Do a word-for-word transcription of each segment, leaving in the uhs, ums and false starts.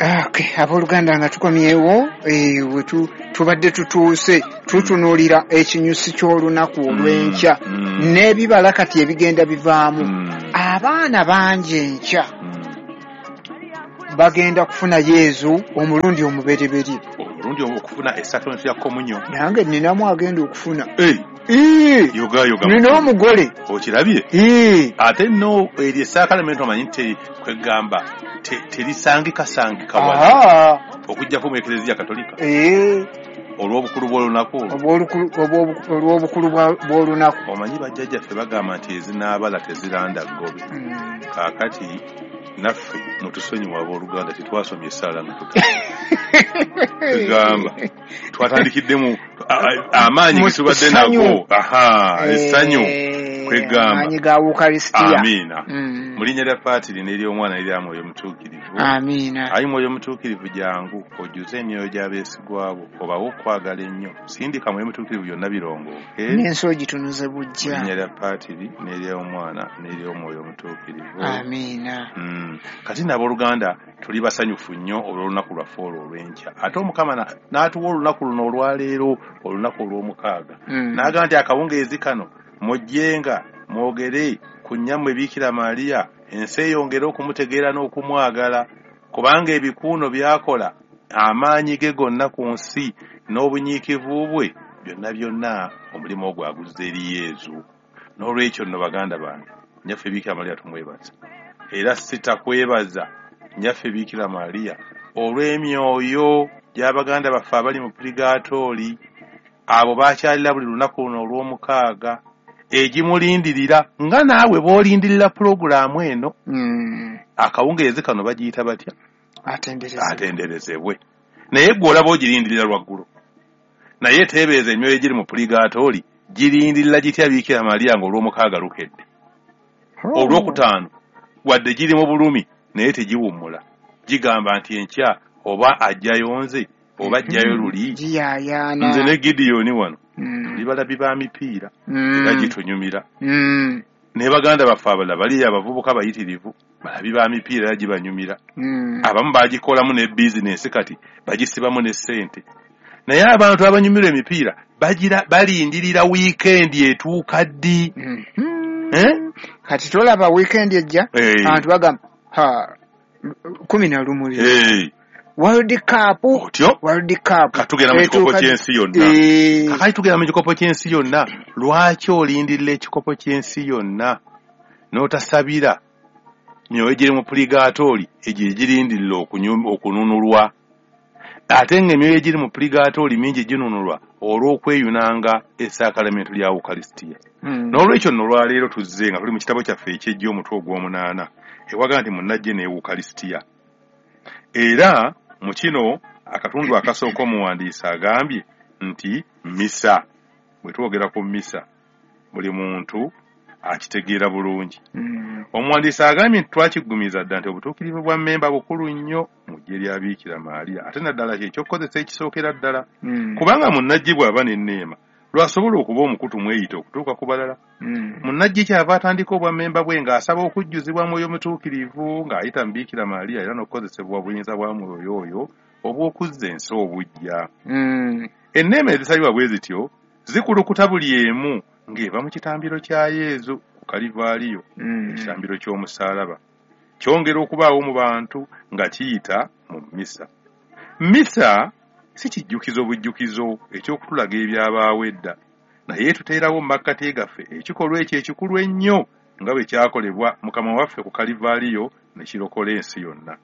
Okay, abooluganda nga tukomyewo, eh, we tubadde tutuuse tutunuulira ekinyusi ky'olunaku olw'enkya mm. mm. n'ebibala kati ebigenda bivaamu. Mm. Abaana bangi enkya mm. bagenda kufuna Yezu omulundi omubereberye. Omulundi okufuna esakramenti ya komunyo. Nange nninamu agenda okufuna. Hey. Ee. Yoga yoga. Nina omugole. Okirabye? Ee. Ate nno eryo esakramenti omanyi nti kwegamba terisangika sangika wala. Okuggyako mu Eklezia Katolika. Ee. Olw'obukulu bw'olunaku olwo. Olw'obukulu bw'olunaku. Omanyi bajjajjaffe bagamba nti ezinaabala teziranda ggobe. Mm. Kaakati naffe mutusonyiwe abooluganda tetwasomye essaala nga tuta. Tugamba twatandikiddemu amaanyi ge tubadde nago. Aha, essanyu kwegamba. Amaanyi ga Ukaristia. Amiina. Mm. Mu linnya lya Patiri n'ery'Omwana n'erya Mwoyo Mutuukirivu. Amiina. Ayi Mwoyo Mutuukirivu jangu ojjuze emyoyo gy'abeesigwa bo obawe okwagala ennyo. Sindika Mwoyo Mutuukirivu byonna birongooke. N'ensi ogitunuze buggya. Mu linnya lya Patiri n'ery'Omwana n'ery'Omwoyo Mutuukirivu. Amiina. Mm. Kati n'abooluganda tuli basanyufu nnyo olw'olunaku lwaffe olwo olw'enkya. Ate Omukama n'atuwa olunaku luno olwaleero, olunaku olw'omukaaga. Mm. N'agamba nti akawungeezi kano mujjenga mwogere ku nnyammwe Biikira Maria, ensi eyongere okumutegeera n'okumwagala, kubanga ebikuuno by'akola, amaanyi ge gonna ku nsi n'obunyiikivu bwe byonna byonna omulimu ogwo aguzza eri Yezu. N'olwekyo nno baganda bange, nnyaffe Biikira Maria tumwebaza. Era sitakwebaza nnyaffe Biikira Maria olw'emyoyo gy'abaganda baffe abali mu purigaatooli, abo bakyalira buli lunaku luno olw'omukaaga egimulindirira nga naawe bw'olindirira pulogulaamu eno. Mm. Akawungeezi kano bagiyita batya? Atenderezebwe. Atenderezebwe. Naye ggwe olaba ogirindirira lwaggulo. Naye teebereza emyoyo egiri mu purigaatooli girindirira gitya Biikira Maria ng'olw'omukaaga lukedde. Oh. Olwokutaano wadde giri mu bulumi naye tegiwummula. Gigamba nti enkya oba ajjayo nze oba ajjayo luli. Giyaayaana. Nze ne Gideoni wano Mm. tuli balabi ba mipiira Mm. era gitunyumira. Mm. Ne baganda baffe abalala bali abavubuka bayitirivu balabi ba mipiira era gibanyumira. Mm. Abamu bagikolamu ne bizinensi kati bagisibamu ne ssente. Naye abantu abanyumirwa emipiira bagira balindirira wiikendi etuuka ddi? Mm-hmm. Eh? Kati tolaba wiikendi ejja Hey. abantu bagamba ha kumi na lumu leero. Hey. World Cup, Otyo? World Cup. Katugenda mu kikopo ky'ensi yonna. Eh. Kakati tugenda mu kikopo ky'ensi yonna. Lwaki olindirira ekikopo ky'ensi yonna n'otasabira myoyo egiri mu purigaatooli egyo egirindirira okununulwa? Ate ng'emyoyo egiri mu purigaatooli mingi ginunulwa olw'okweyunanga essakalamentu lya Ukaristia. Mm. N'olwekyo nno olwaleero tuzze nga tuli mu kitabo kyaffe eky'ejja omutwe ogw'omunaana ewaga nti munnajje ne Ukaristia. Era mu kino akatundu akasooka omuwandiisi agambye nti misa. Bwe twogera ku misa buli muntu akitegeera bulungi. Mm. Omuwandiisi agambye nti twakiggumiza dda nti obutuukirivu bwa mmemba bukulu nnyo mu ggye lya Biikira Maria, ate naddala kye ekyokukozesa ekisookera ddala. Mm. Kubanga munnajje bw'aba n'enneema lwasobola okuba omukutu mweyite okutuuka ku balala. Mm. Munnajje kyava atandika obwammemba bwe ng'asaba okujjuzibwa Mwoyo Mutuukirivu ng'ayita mu Biikira Maria era n'okukozesebwa obuyinza bwa Mwoyo oyo obw'okuzza ensi obuggya. Mm. Enneema ezisabibwa bwe zityo zikulukuta buli emu ng'eva mu kitambiro kya Yezu ku Kalivaaliyo, Mm. ekitambiro ky'omusaalaba. Kyongera okubaawo mu bantu nga kiyita mu misa. Misa si kijjukizo bujjukizo eky'okutulaga ebyabaawo edda, naye tuteerawo mu makkati gaffe ekikolwa ekyo ekikulu ennyo nga bwe kyakolebwa Mukama waffe ku Kalivaaliyo ne kirokola ensi yonna.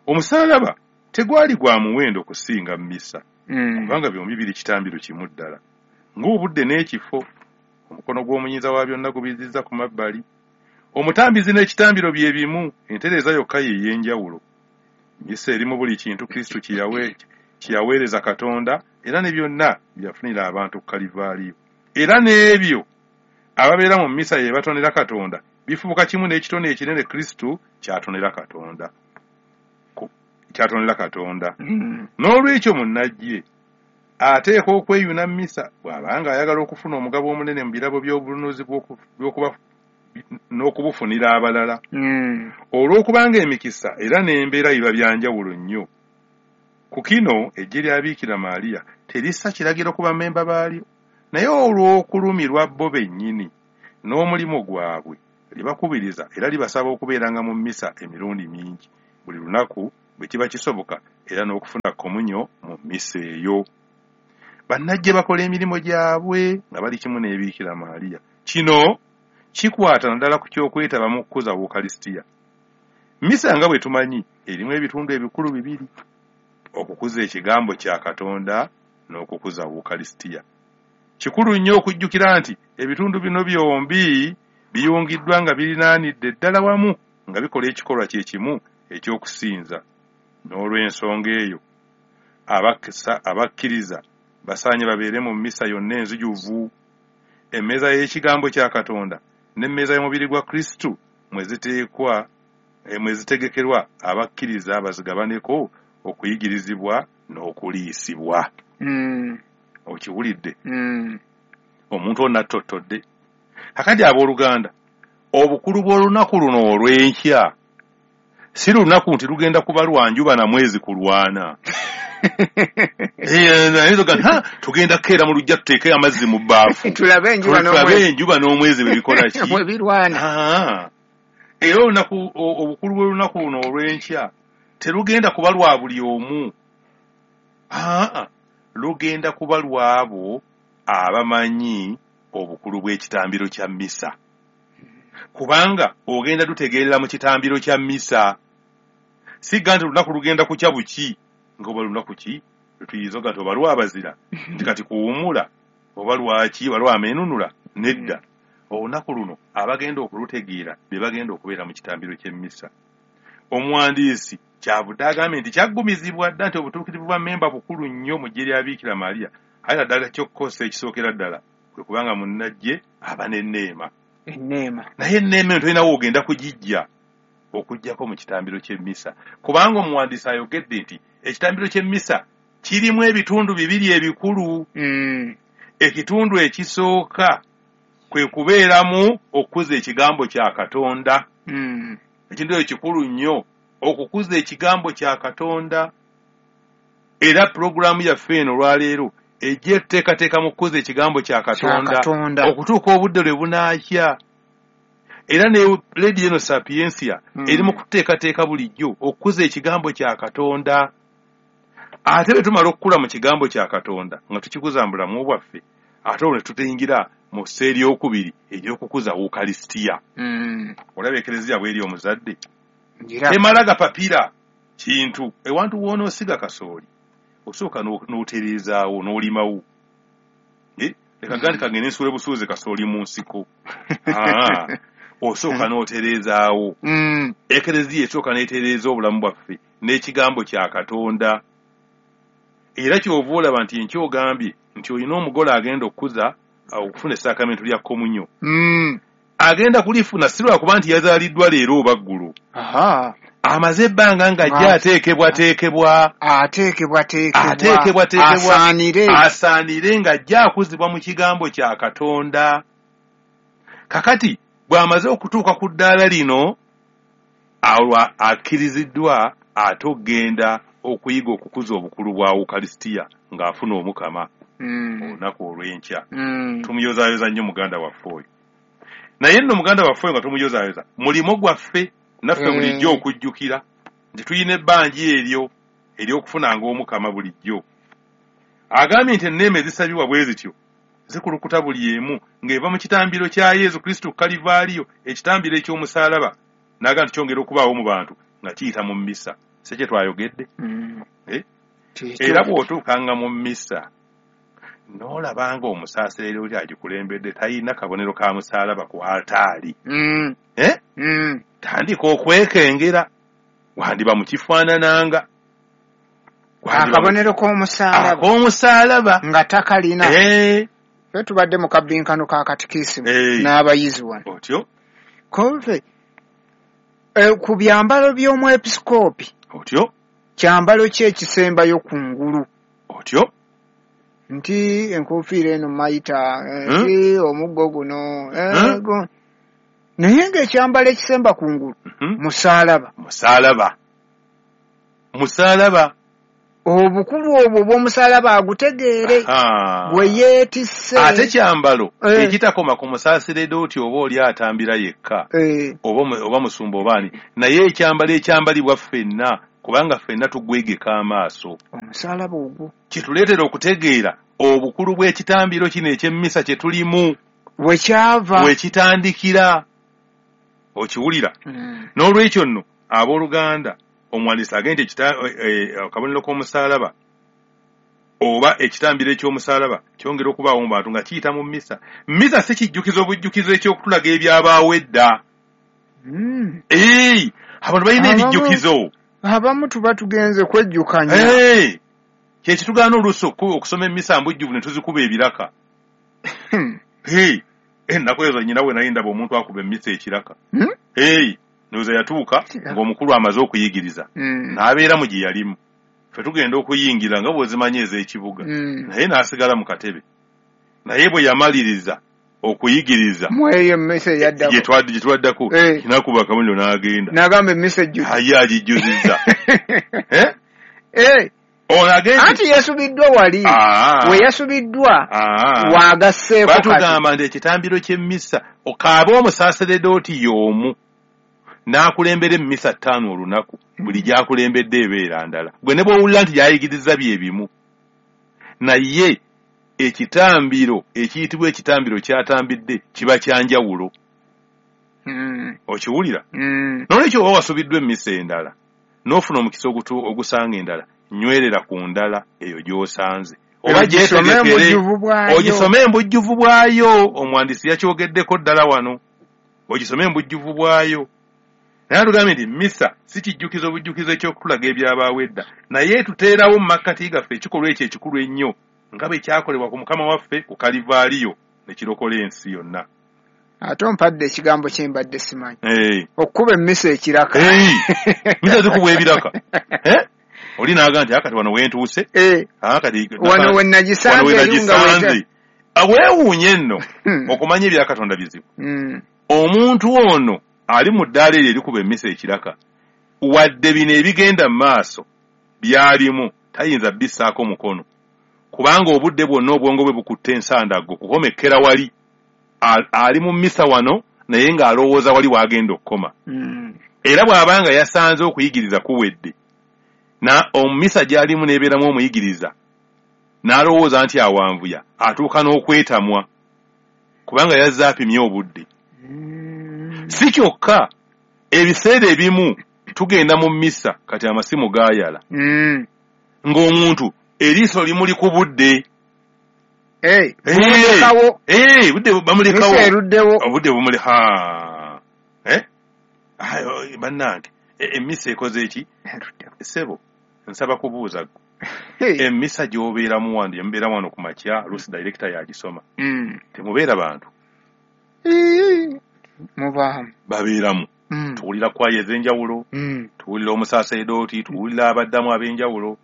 Omusaalaba tegwali gwa muwendo kusinga misa, Mm. kubanga byombi biri kitambiro kimu ddala. Ng'obudde n'ekifo, omukono gw'omuyinza wa byonna gubizizza ku mabbali. Omutambizi n'ekitambiro bye bimu, entereeza yokka ye ey'enjawulo. Misa erimu buli kintu Kristo kye yaweereza Katonda era ne byonna bye yafunira abantu ku Kalivaaliyo. Era n'ebyo ababeera mu misa ye batonera Katonda bifuuka kimu n'ekitone ekinene Kristo ky'atonera Katonda. Ky'atonera Katonda. Mm. N'olwekyo munnajje ateekwa okweyuna misa bw'abanga ayagala okufuna omugabo omunene mu birabo by'obununuzi bw'okuba n'okubufunira abalala. Mm. Olw'okubanga emikisa era n'embeera biba bya njawulo nnyo. Ku kino eggye lya Biikira Maria terissa kiragiro ku bammemba baalyo, naye olw'okulumirwa bo bennyini n'omulimu gwabwe libakubiriza era libasaba okubeeranga mu mmisa emirundi mingi buli lunaku bwe kiba kisoboka, era n'okufuna komunyo mu mmisa eyo. Bannajje bakola emirimu gyabwe nga bali kimu ne Biikira Maria. Kino kikwata naddala ku ky'okwetaba mu kukuza Wukalisitiya. Mmisa nga bwe tumanyi erimu ebitundu ebikulu bibiri: okukuza ekigambo kya Katonda n'okukuza Wukalisitiya. Kikulu nnyo okujjukira nti ebitundu bino byombi biyungiddwa nga birinaanidde ddala wamu nga bikola ekikolwa kye kimu eky'okusinza. N'olw'ensonga eyo abakkiriza basaanye babeere mu mmisa yonna enzijuvu. Emmeeza y'ekigambo kya Katonda n'emmeeza y'omubiri gwa Kristo mwe ziteekwa mwe zitegekerwa abakkiriza bazigabaneko okuyigirizibwa n'okuliisibwa. Mm. Okiwulidde? Mm. Omuntu onna attottodde. Kakati abooluganda, obukulu bw'olunaku luno olw'enkya si lunaku nti lugenda kuba lwa njuba na mwezi kulwana. Tugenda kukeera mu luggya tuteeke amazzi mu bbaafu tulabe enjuba n'omwezi bwe bikola ki, bwe birwana. Era olunaku obukulu bw'olunaku luno olw'enkya terugenda kuba lwa buli omu, aa lugenda kuba lw'abo abamanyi obukulu bw'ekitambiro kya mmisa, kubanga ogenda tutegeerera mu kitambiro kya mmisa. Sigga nti olunaku lugenda kukya buki, nga oba lunaku ki lwetuyinza oga nti oba lwabazira nti kati kuwummula oba lwaki oba lwameenunula. Nedda, olunaku luno abagenda okulutegeera be bagenda okubeera mu kitambiro ky'emmisa. Omuwandiisi kyavudde agambye nti kyaggumizibwa dda nti obutuukirivu bwa mmemba bukulu nnyo mu ggye lya Biikira Maria, aye naddala ky'okukozesa ekisookera ddala kwe kubanga munnajje aba n'enneema. Enneema. Naye enneema eno tolinawo ogenda kugijja okuggyako mu kitambiro ky'emmisa, kubanga omuwandiisi ayogedde nti ekitambiro ky'emmisa kirimu ebitundu bibiri ebikulu. Mm. Ekitundu ekisooka kwe kubeeramu okukuza ekigambo kya Katonda. Mm. Ekintu ekyo kikulu nnyo, okukuza ekigambo kya Katonda. Era pulogulaamu yaffe eno olwaleero ejja etuteekateeka mu kukuza ekigambo kya Katonda okutuuka obudde lwe bunaakya. Era ne Lady eno Sapientia mm. eri mu kuteekateeka bulijjo okukuza ekigambo kya Katonda. Ate bwe tumala okukula mu kigambo kya Katonda nga tukikuza mu bulamu bwaffe, ate olwo ne tutuyingira mu ssa eryokubiri ery'okukuza Wukalisitiya. Mm. Olaba Ekereziya bw'eri omuzadde temala gapapira kintu. Ewantu w'onoosiga kasooli osooka n'otereezaawo n'olimawo. Leka gandi kagende nsuule busuuze kasooli mu nsiko. Osooka n'otereezaawo. Ekereziya esooka n'etereeza obulamu bwaffe n'ekigambo kya Katonda. Era ky'ova olaba nti enkya ogambye nti olina omugole agenda okukuza okufuna essaakamento lya komunyo. Agenda kulifuna si lwakuba nti yazaaliddwa leero oba ggulo. Amaze ebbanga ng'ajja ateekebwateekebwa ateekebwateekebwa asaanire asaanire ng'ajja akuzibwa mu kigambo kya Katonda. Kakati bw'amaze okutuuka ku ddaala lino, olwo akkiriziddwa ate okugenda okuyiga okukuza obukulu bwa Wukalisitiya ng'afuna Omukama olunaku olw'enkya. Tumuyozaayoza nnyo muganda waffe oyo. Naye nno muganda waffe oyo nga tumuyozaayoza, mulimo gwaffe naffe bulijjo okujjukira nti tulina ebbanja eryo ery'okufunanga Omukama bulijjo. Agambye nti enneema ezisabibwa bwe zityo zikulukuta buli emu ng'eva mu kitambiro kya Yesu Kristo ku Kalivaaliyo, ekitambiro eky'omusaalaba, n'agamba nti kyongera okubaawo mu bantu nga kiyita mu mmisa. Si kye twayogedde? Era bw'otuukanga mu mmisa n'olabanga omusaasereero agikulembedde talina kabonero ka musaalaba ku altaali, tandika okwekengera, wandiba mu kifaanananga akabonero k'omusaalaba ak'omusaalaba nga takalina. Ffe tubadde mu kabbinkano ka katikisimu n'abayizi wano. Otyo? Konfe ku byambalo by'omwepisikoopi. Otyo? Kyambalo ki ekisembayo ku ngulu? Otyo? Nti enkofiira eno mayita, nti omuggo guno, Naye ng'ekyambalo ekisemba kungulu musaalaba. Musaalaba. Musaalaba. Obukulu obwo bw'omusaalaba agutegeere bwe yeetisse. Ate kyambalo ekitakoma ku musaasiredooti oba oli atambira yekka oba musumba oba ani, naye ekyambalo ekyambalibwa ffenna kubanga ffenna tugwegeka amaaso. Omusaalaba ogwo kituleetera okutegeera obukulu bw'ekitambiro kino eky'emmisa kye tulimu we kyava, we kitandikira. Okiwulira? N'olwekyo nno abooluganda, omwandiisi agenda akabonero k'omusaalaba oba ekitambiro eky'omusaalaba kyongera okubaawo mu bantu nga kiyita mu mmisa. Mmisa si kijjukizo obujjukizo eky'okutulaga ebyabaawo edda. Abantu balina ebijjukizo. Abamu tuba tugenze kwejjukanya. Kye kitugaana oluusi okusoma emmisa mbujjuvu ne tuzikuba ebiraka. Ennaku ezo nnyina we naye ndaba omuntu akuba emmisa ekiraka. Ndowooza yatuuka ng'omukulu amaze okuyigiriza n'abeera mu gye yalimu. Ffe tugenda okuyingira nga bw'ozimanyi ez'ekibuga, naye n'asigala mu katebe. Naye bwe yamaliriza okuyigiriza mweyo emmisa eyaddako gye twaddako, n'akuba akabonero n'agenda n'agamba emmisa ejjudde. Aye agijjuzizza. Anti yasubiddwa wali, we yasubiddwa waagasseeko. Batugamba nti ekitambiro ky'emmisa okaabe omusaaseredooti y'omu n'akulembera emmisa ttaano olunaku, buli gy'akulembedde ebeera ndala. Gwe ne bw'owulira nti gy'ayigiriza bye bimu, naye ekitambiro ekiyitibwa ekitambiro ky'atambidde kiba kya njawulo. Okiwulira? N'olwekyo oba wasubiddwa emmisa endala n'ofuna omukisa ogusanga endala, nywerera ku ndala eyo gy'osanze oba gyetegekere ogisome embujjuvu bwayo. Omwandiisi yakyogeddeko ddala wano, ogisome embujjuvu bwayo. Naye atugambye nti mmisa si kijjukizo obujjukizo eky'okutulaga ebyabaawo edda, naye etuteerawo mu makkati gaffe ekikolwa ekyo ekikulu ennyo nga bwe kyakolebwa ku Mukama waffe ku Kalivaaliyo ne kirokola ensi yonna. Ate ompadde ekigambo kye mbadde simanyi, okukuba emmisa ekiraka. Mmisa zikubwa ebiraka. Oli n'agamba nti akati wano wentuuse, wano we nagisanze. Weewuunye nno okumanya ebya Katonda bizibu. Omuntu ono ali mu ddaala eryo erikuba emmisa ekiraka, wadde bino ebigenda mu maaso byalimu tayinza bissaako mukono, kubanga obudde bwonna obwongo bwe bukutte ensandaggo kukomekera wali. Ali mu mmisa wano naye ng'alowooza wali w'agenda okukoma. Era bw'abanga yasanze okuyigiriza kuwedde, na omumisa gy'alimu n'ebeeramu omuyigiriza n'alowooza nti awanvuya, atuuka n'okwetamwa kubanga yazze apimye obudde. Si kyokka, ebiseera ebimu tugenda mu mmisa kati amasimu gaayala ng'omuntu eriiso limuli ku budde. Budde bamulekawo, obudde bumuli. Bannange, emmisa ekoze eki? Ssebo, nsaba kubuuza ggwe, emmisa gy'obeeramu wano, gye mubeeramu wano ku makya, luusi dayirekita yagisoma, temubeera bantu? Mubaamu. Babeeramu. Tuwulira kwaya ez'enjawulo, tuwulira omusaaseredooti, tuwulira abaddamu ab'enjawulo.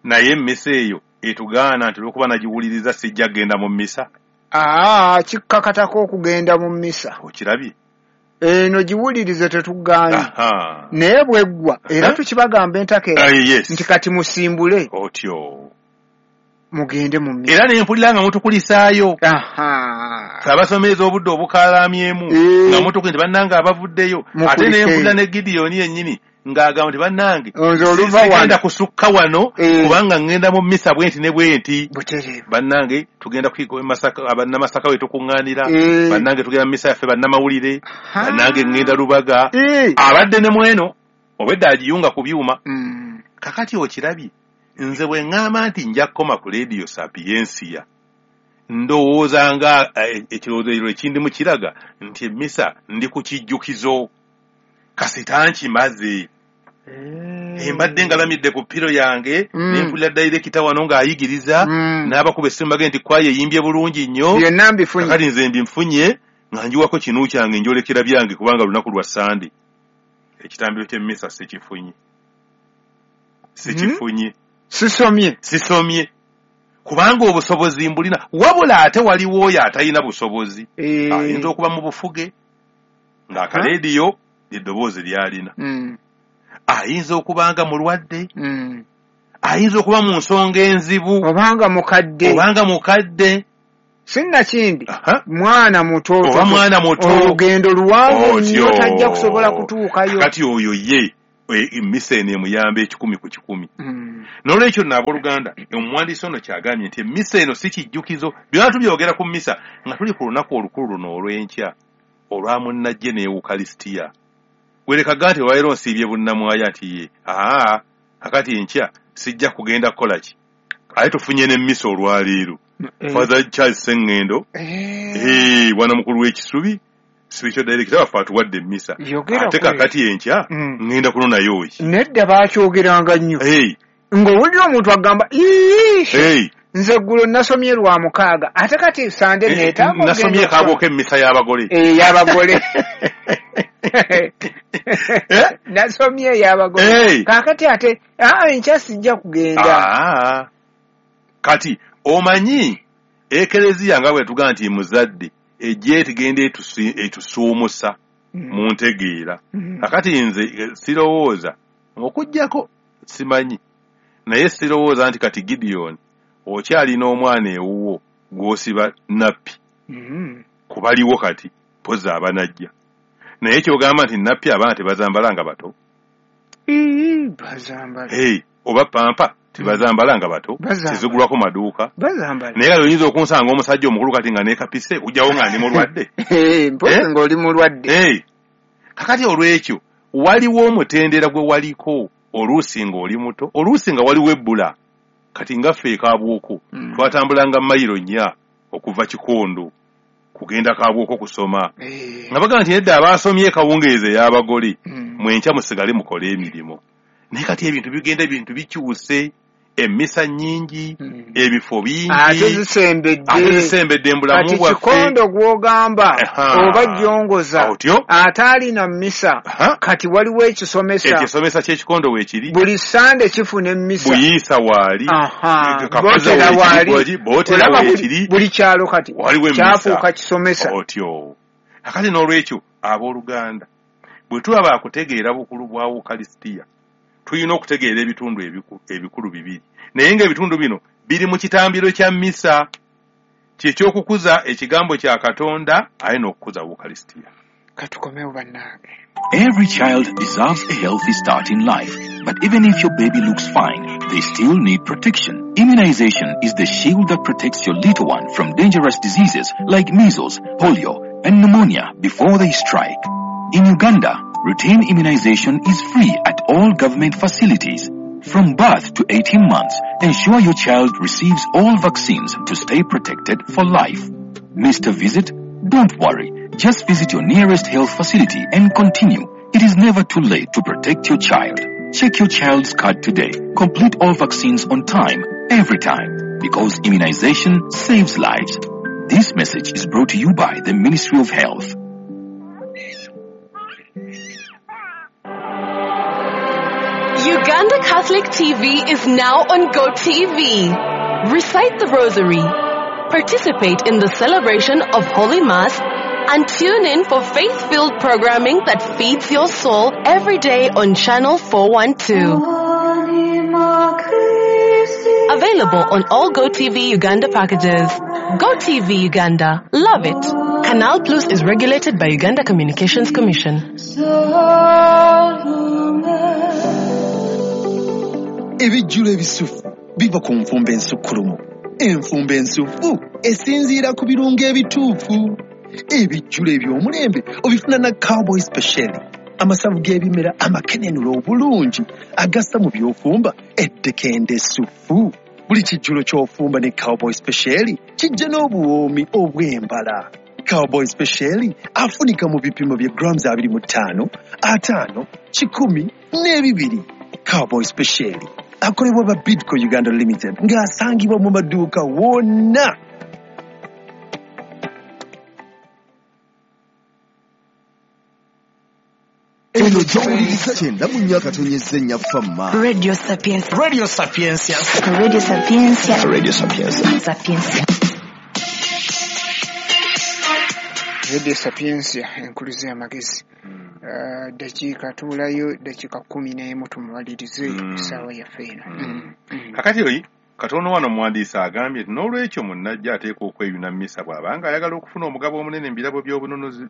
Naye emmisa eyo etugaana nti olw'okuba nagiwuliriza sijja kugenda mu mmisa. Aa, kikkakatako okugenda mu mmisa. Okirabye? Eno giwulirize tetugaanye, naye bweggwa era tukibagamba entakera nti kati musimbule otyo mugende mu mmisa. Era ne mpulira nga mutukulisaayo abasomeza obudde obukalamyemu nga mutuku nti bannange abavuddeyo. Ate ne mpulira ne Gidiyoni yennyini ng'agamba nti bannange sigenda kusukka wano kubanga ŋŋenda mu mmisa bwe nti ne bwe nti. Bannange tugenda bannamasaka we tukuŋŋaanira, bannange tugenda mu mmisa yaffe bannamawulire, bannange ŋŋenda Lubaga. Abadde ne mweno obwedda agiyunga ku byuma. Kakati okirabye, nze bwe ŋŋamba nti nja kukoma ku leediyo Sapiensia, ndowooza nga ekirowoozo ekindimu kiraga nti emmisa ndi ku kijjukizo, kasita nkimaze. Embadde ngalamidde ku ppiro yange ne mpulira dayirekita wano ng'ayigiriza n'abakuba essimu bagende nti kwaya eyimbye bulungi nnyo, kakati nze mbinfunye nga njiwako kinu kyange njolekera byange kubanga lunaku lwa Sande. Ekitambiro ky'emmisa sikifunye, sikifunye, sisomye, sisomye kubanga obusobozi mbulina. Wabula ate waliwo oyo atalina busobozi, ayinza okuba mu bufuge, Ng'akaleediyo eddoboozi ly'alina. Mm. Ayinza okuba nga mulwadde. Mm. Ayinza okuba mu nsonga enzibu. Obanga mukadde. Obanga mukadde. Sinnakindi mwana muto. Oba mwana muto. Olugendo luwanvu nnyo tajja kusobola kutuukayo. Kati oyo ye emmisa eno emuyamba ekikumi ku kikumi. Mm. N'olwekyo nno abooluganda, omuwandiisi ono kyagambye nti emmisa eno si kijjukizo. Byonna tubyogera ku mmisa nga tuli ku lunaku olukulu luno olw'enkya olwa munnajje ne Ewukalisitiya. Gwerekaga nti olwaleero nsiibye bunnamwaya nti ye aa akati enkya sijja kugenda kukola ki, aye tufunye n'emmisa olwaleero. Father Charles Sengendo, eh, bwana mukulu w'ekisubi, spiritual director waffe atuwadde emmisa. Ate kakati enkya ngenda kunonayo ki? Nedda baakyogeranga nnyo. Ng'owulira omuntu agamba ii nze eggulo nasomye lwa mukaaga ate kati Sande neetaaga nasomye kaabooka emmisa y'abagole. Ey'abagole. Nasomye ey'abagole. Kaakati ate aa enkya sijja kugenda. Kati omanyi ekereziya nga bwe tugamba nti muzadde ejja etigenda etusuumusa mu ntegeera. Kakati nze sirowooza okuggyako simanyi, naye sirowooza nti kati Gideon okyalina omwana ewuwo gw'osiba nappi kubaliwo kati mpozi abanajja, naye kyogamba nti nappi abaana tebazambala nga bato, oba pampa tebazambala nga bato, tezigulwako maduuka. Naye kati oyinza okunsanga omusajja omukulu kati nga neekapise ojjawo nga ndi mulwadde. Mpozi ng'oli mulwadde. Kakati olw'ekyo waliwo omutendera gwe waliko oluusi ng'oli muto, oluusi nga waliwo ebbula. Kati nga ffe e Kaabwoko twatambulanga mayiro nnya okuva Kikondo kugenda Kaabwoko kusoma. Nga bagamba nti nedda abaasomye kawungeezi ey'abagole mwenkya musigale mukole emirimu. Naye kati ebintu bigenda ebintu bikyuse, emmisa nnyingi, ebifo bingi, ate zisembedde, ate zisembedde mu bulamu bwaffe. Kati Kikondo gw'ogamba oba jjongoza ate alina mmisa, kati waliwo ekisomesa, ekisomesa ky'ekikondo weekiri, buli Sande kifuna emmisa, Buyiisa waali, Bootera waali, Bootera weekiri, buli kyalo kati kyafuuka kisomesa. Otyo akati n'olwekyo abooluganda bwe tuba baakutegeera bukulu bwa Wukalisitiya tulina okutegeera ebitundu ebikulu bibiri, naye ng'ebitundu bino biri mu kitambiro kya mmisa, kyekyokukuza ekigambo kya Katonda aye n'okukuza Wukalisitiya. Katukomewo bannange. Every child deserves a healthy start in life, but even if your baby looks fine, they still need protection. Immunization is the shield that protects your little one from dangerous diseases like measles, polio, and pneumonia before they strike. In Uganda, routine immunization is free at all government facilities. From birth to eighteen months, ensure your child receives all vaccines to stay protected for life. Missed a visit? Don't worry. Just visit your nearest health facility and continue. It is never too late to protect your child. Check your child's card today. Complete all vaccines on time, every time, because immunization saves lives. This message is brought to you by the Ministry of Health. Uganda Catholic T V is now on GoTV. Recite the Rosary, participate in the celebration of Holy Mass, and tune in for faith-filled programming that feeds your soul every day on Channel four one two. Available on all GoTV Uganda packages. GoTV Uganda. Love it. Canal Plus is regulated by Uganda Communications Commission. Ebijjulo ebisufu biva ku nfumba ensukkulumu. Enfumba ensufu esinziira ku birungo ebituufu. Ebijjulo eby'omulembe obifuna na Cowboy Special. Amasavu g'ebimera amakenenula obulungi agassa mu by'ofumba eddekende essufu. Buli kijjulo ky'ofumba ne Cowboy Special kijja n'obuwoomi obw'embala. Cowboy Special afunika mu bipimo bya grams abiri mu ttaano, ataano, kikumi n'ebibiri. Cowboy Special akolebwa ba Bidco Uganda Limited ng'asangibwa mu maduuka wonna. Eno gy'owuliriza kyenda mu nnya akatonyezza ennya Fama. Radio Sapientia. Radio Sapientia. Radio Sapientia. Radio Sapientia. Sapientia. Radio Sapientia enkuluze amagezi. Eh, dakiika tubulayo dakiika kumi n'emu tumumalirize Mm. essaawa yaffe eno. Mm. Mm. Mm. Kakati oyi katono wano omuwandiisi agambye nti n'olwekyo munnajja ateekwa okweyuna mmisa bw'abanga ayagala okufuna omugabo omunene mu birabo by'obununuzi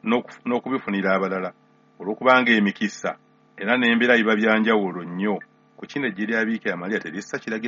n'oku- n'okubifunira abalala, olw'okubanga emikisa era n'embeera biba bya njawulo nnyo. Ku kino eggye lya Biikira Mariya terissa kiragiro.